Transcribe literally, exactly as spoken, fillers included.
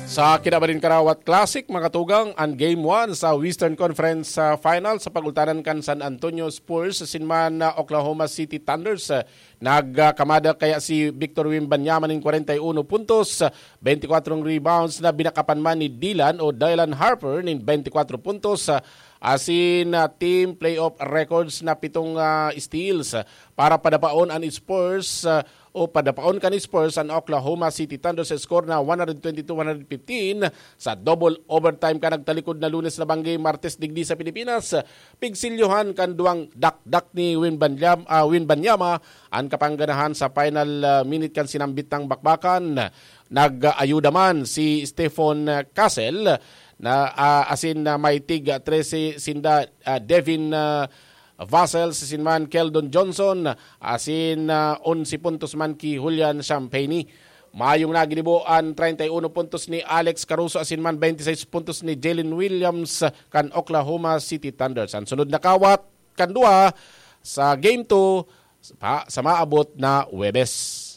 Sa kinabaling Karawat Classic, mga tugang, an Game one sa Western Conference ah, Final sa pagultanan kan San Antonio Spurs asin man ah, Oklahoma City Thunders. Ah, nagkamada kaya si Victor Wembanyama nin kwarenta y uno puntos, ah, bente kwatro rebounds na binakapan man ni Dylan o Dylan Harper nin bente kwatro puntos, ah, asin ah, team playoff records na pitong ah, steals para padapaon an Spurs ah, o padapaon kan Spurs an Oklahoma City Thunder sa score na one twenty-two one fifteen sa double overtime kan nagtalikod na Lunes na banggi Martes digdi sa Pilipinas. Pigsilyohan kan duwang dakdak ni Win Banyam, ah, Win Banyama an kapangganahan sa final ah, minute kan sinambit ng bakbakan. Nag-ayuda man si Stefan Castle na ah, asin na may tig trese sinda ah, Devin ah, Vassell, si Sinman Keldon Johnson, asin ah, onse puntos man ki Julian Champagne. Mayong naginibo an treinta y uno puntos ni Alex Caruso asin man twenty-six puntos ni Jalen Williams kan Oklahoma City Thunder. An sunod na kawat kan duwa sa Game two pa, sa maabot na Huwebes.